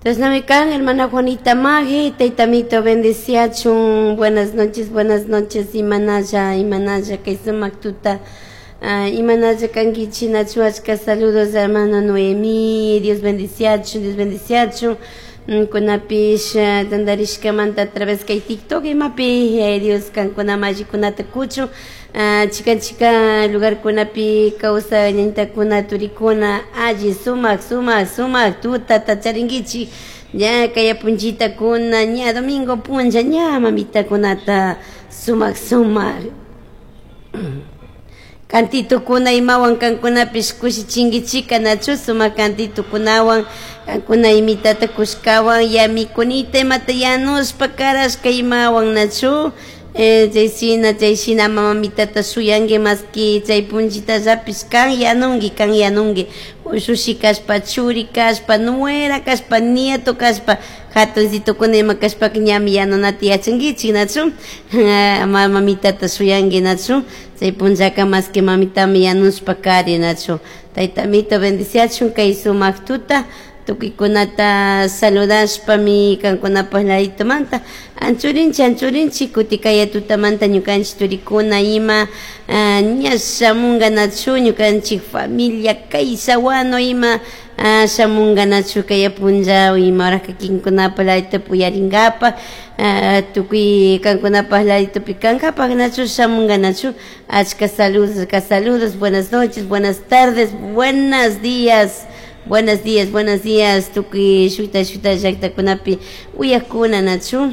Chashnami kan, hermana Juanita Maje, taytamito bendeciachun. Buenas noches, buenas noches, imanalla, imanalla, kay sumak tuta. Imanalla kankichik, nachu achka saludos, hermana Noemí, Dios bendeciachun, Dios bendeciachun. Kunapish tantarishkamanta a través kay TikTok imapi, Dios kankuna mallikunata kuchun. Chikan chikan lugarkunapi kawsay ñañitakuna turikuna alli sumak sumak sumak tutata charinkichik ña kay punchitakuna ña domingo punlla ña mamitakunata sumak sumak kantitukuna imawan kankunapish kushichinkichika nachu sumak kantitukunawan kankuna imitata kushkawan yamikunita imata yanushpa karashka imawan nachu chayshina chayshina mamitata shuyanki maski chay punchitallapish kan yanunki kan yanunki ushushi kashpa churi kashpa nuera kashpa nieto kashpa jatunsitokuna ima kashpaka ñami yanunata yachankichik nachu mamitata shuyanki nachu chay punllaka maski mamitami yanushpa kari nachu taytamito bendiciachun kay sumak tuta tukuykunata saludashpami kankunapak laditomanta anchurinchik anchurinchik kuti kaya tutamanta ñukanchik turikuna ima ña shamunga nachu ñukanchik familia kay sawano ima shamunga nachu kaya punlla ima hora kikinkunapak laditopi uyarinkapak tukuy kankunapak laditopi kankapak nachu shamunga nachu achka saludos achka saludos buenas noches, buenas tardes, buenos días. Buenos días, buenos días, tukuy shuta shuta llaktakunapi uyakuna nachu.